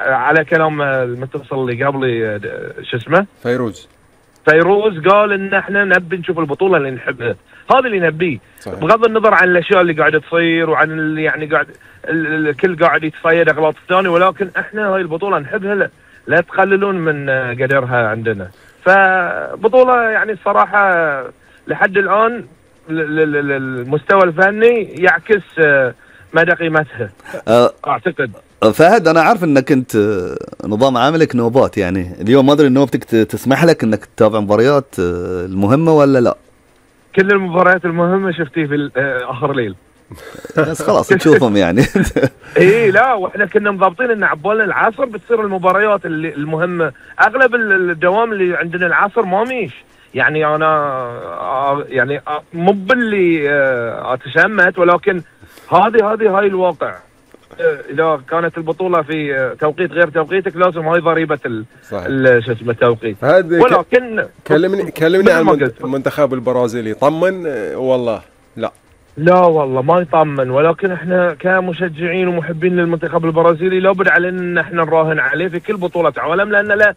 على كلام المتصل اللي قبلي شو اسمه فيروز قال ان احنا نبي نشوف البطوله اللي نحبها، هذا اللي نبيه بغض النظر عن الاشياء اللي قاعده تصير وعن اللي يعني قاعد الكل قاعد يتصيد اغلاط الثاني، ولكن احنا هاي البطوله نحبها، لا تقللون من قدرها عندنا. فبطوله يعني الصراحه لحد الان المستوى الفني يعكس مدى قيمتها اعتقد. فهد انا عارف انك انت نظام عملك نوبات، يعني اليوم ما ادري نوبتك تسمح لك انك تتابع مباريات المهمه ولا لا؟ كل المباريات المهمه شفتيه في اخر ليل بس خلاص تشوفهم يعني. ايه لا، واحنا كنا مضابطين ان عبالنا العصر بتصير المباريات المهمه، اغلب الدوام اللي عندنا العصر ما ميش، يعني انا يعني مو باللي اتشمت، ولكن هاي الواقع. اذا كانت البطوله في توقيت غير توقيتك لازم هاي ضريبه شو اسمه التوقيت. ولكن كلمني عن المنتخب البرازيلي. طمن والله؟ لا والله ما يطمن، ولكن احنا كمشجعين ومحبين للمنتخب البرازيلي لابد علينا ان احنا نراهن عليه في كل بطوله عالم، لان لا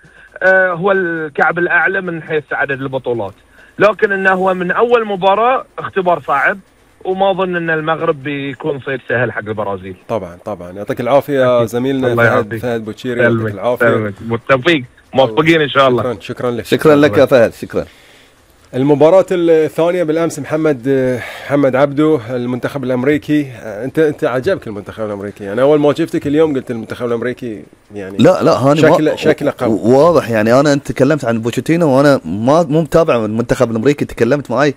هو الكعب الاعلى من حيث عدد البطولات، لكن انه هو من اول مباراه اختبار صعب، وما اظن ان المغرب بيكون صيد سهل حق البرازيل. طبعا يعطيك العافيه زميلنا فهد بوتشيري، يعطيك العافيه بالتوفيق، موفقين ان شاء الله. شكرا لك. شكرا لك يا فهد. شكرا. المباراة الثانية بالامس محمد عبده المنتخب الامريكي. انت عجبك المنتخب الامريكي؟ انا اول ما شفتك اليوم قلت المنتخب الامريكي يعني لا هاني شكله قوي واضح. يعني انا انت تكلمت عن بوتشيتينو وانا مو متابع المنتخب الامريكي، تكلمت معي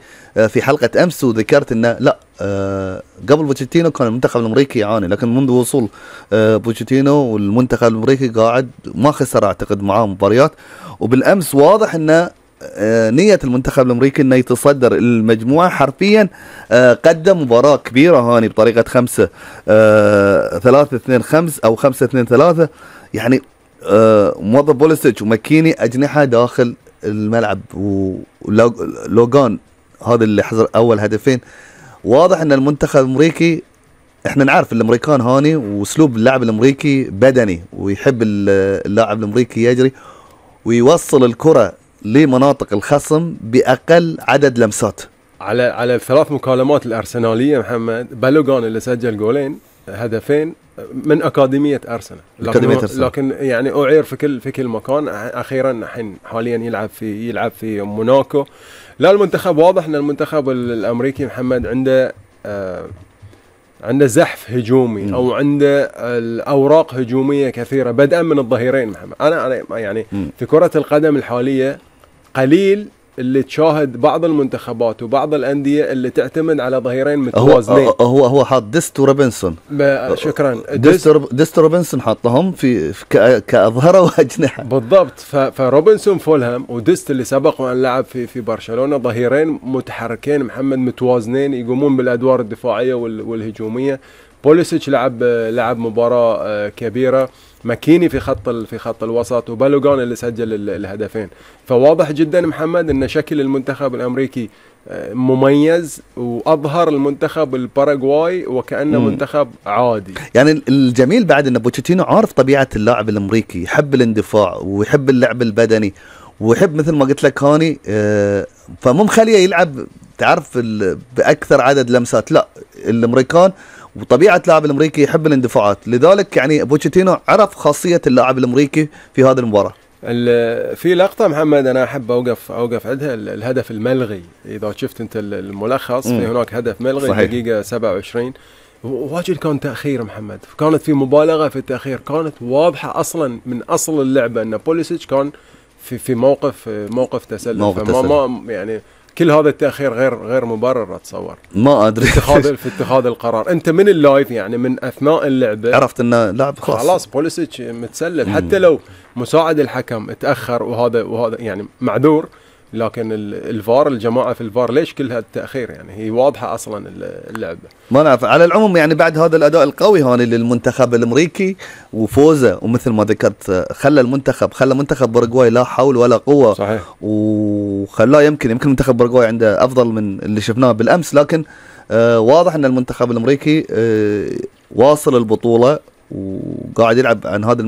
في حلقة امس وذكرت انه لا قبل بوتشيتينو كان المنتخب الامريكي يعاني، لكن منذ وصول بوتشيتينو والمنتخب الامريكي قاعد ما خسر اعتقد معاه مباريات، وبالامس واضح انه نية المنتخب الامريكي انه يتصدر المجموعة حرفيا. قدم مباراة كبيرة هاني بطريقة 5-3-2-5 او 5-2-3، يعني موظف بوليسيتش وماكيني اجنحة داخل الملعب، ولوغان هذا اللي حضر اول هدفين. واضح ان المنتخب الامريكي، احنا نعرف الامريكان هاني واسلوب اللاعب الامريكي بدني، ويحب اللاعب الامريكي يجري ويوصل الكرة لمناطق الخصم بأقل عدد لمسات. على الثلاث مكالمات الأرسنالية محمد، بالوغان اللي سجل جولين هدفين من أكاديمية أرسنال، لكن يعني أعير في كل مكان. أخيرا الحين حاليا يلعب في موناكو. لا المنتخب واضح أن المنتخب الأمريكي محمد عنده زحف هجومي او عنده الاوراق هجوميه كثيره بدءا من الظهيرين محمد. انا يعني في كره القدم الحاليه قليل اللي تشاهد بعض المنتخبات وبعض الانديه اللي تعتمد على ظهيرين متوازنين. هو حاط ديست وروبنسون. شكرا. ديست وروبنسون حطهم في كاظهره واجنحه بالضبط. فروبنسون فولهام وديست اللي سبق وان لعب في برشلونه، ظهيرين متحركين محمد متوازنين يقومون بالادوار الدفاعيه والهجوميه. بوليسيتش لعب مباراه كبيره. ماكيني في خط الوسط، وبالوغان اللي سجل الهدفين. فواضح جدا محمد ان شكل المنتخب الامريكي مميز، واظهر المنتخب الباراغواي وكانه منتخب عادي. يعني الجميل بعد ان بوتشيتينو عارف طبيعه اللاعب الامريكي، يحب الاندفاع ويحب اللعب البدني ويحب مثل ما قلت لك هاني، فمو مخليه يلعب تعرف باكثر عدد لمسات. لا الامريكان وطبيعه اللاعب الامريكي يحب الاندفاعات، لذلك يعني بوتشيتينو عرف خاصيه اللاعب الامريكي في هذه المباراه. في لقطه محمد انا احب اوقف عندها، الهدف الملغي. اذا شفت انت الملخص في هناك هدف ملغي صحيح. دقيقه 27 واجد كان تاخير محمد، كانت في مبالغه في التاخير، كانت واضحه اصلا من اصل اللعبه ان بوليسيتش كان في موقف تسلل. ما يعني كل هذا التأخير غير مبرر. أتصور ما أدري في اتخاذ القرار. أنت من اللايف يعني من أثناء اللعبة عرفت إنه لاعب خلاص بوليسيتش متسلل. حتى لو مساعد الحكم اتأخر وهذا يعني معذور، لكن الفار الجماعة في الفار ليش كل هذا التأخير؟ يعني هي واضحة أصلا اللعبة. ما نعرف. على العموم يعني بعد هذا الأداء القوي هون للمنتخب الأمريكي وفوزه، ومثل ما ذكرت خلى منتخب باراغواي لا حول ولا قوة صحيح، وخلاه يمكن منتخب باراغواي عنده أفضل من اللي شفناه بالأمس، لكن واضح أن المنتخب الأمريكي واصل البطولة وقاعد يلعب عن هذا